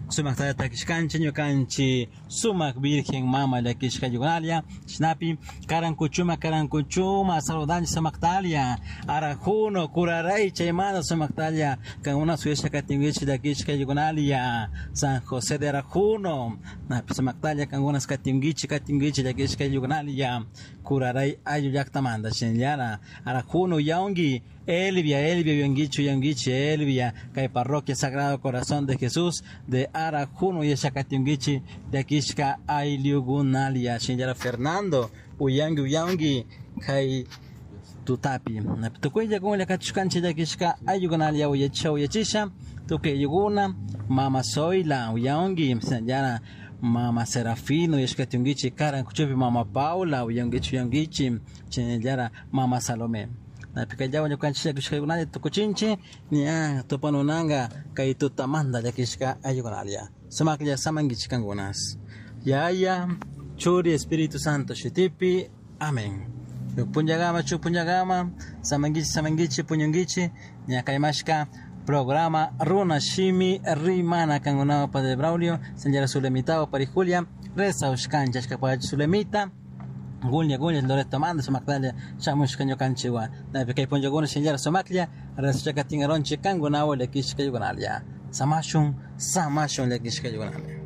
Sumak takishkanchik ñukanchik sumak Virgen Mama llakishka yugunalla chashnapi karankuchuma karankuchuma saludanchik sumaktalia Arajuno Curaray chaymanta sumaktalia kankuna suyasha katinkichik llakishka yugunalia San Jose de Arajuno napi sumaktalia kankuna katinkichik katinkichik llakishka yugunalia Curaray ayllu llaktamanta shinallara Arajuno yawnki Elvia, Elvia, uyankichik, uyankichik, Elvia, kay parroquia Sagrado Corazón de Jesús de Arajuno yachakatinkichik llakishka ayllukunalia shinallara Fernando, uyanki, uyanki, kay tutapi. Tukuylla kunlla kachishkanchik llakishka ayllukunalia uyachisha, uyachisha, tukuy ayllukuna, mama Zoila, uyanki, shinallara mama Serafino, yachakatinkichik Karankuchupi mama Paula, uyankichik, uyankichik, shinallara mama Salomé. Napikallawan ñukanchik llakishkakunalla tukuchinchik ña tupanunanka kay tutamanta llakishka ayllukunalla sumaklla samankichik kankunas Yaya Churi Espíritu Santo shutipi amén. Shuk punllakama shuk punllakama samankichik samankichik puñunkichik ña kaymashka programa Runa Shimi Rimana kankunawan Padre Braulio señora Zulemita o Pari Julia reza ushkanchik ashkapach Zulemita Gunya gunya Loreto manda sumaktalia shamushka ñukanchikwan napi kay punllakuna shinallara sumaklla rezachakatin aronchik kankunawan llakishka yugunalia samashun samashun llakishka yugunalia.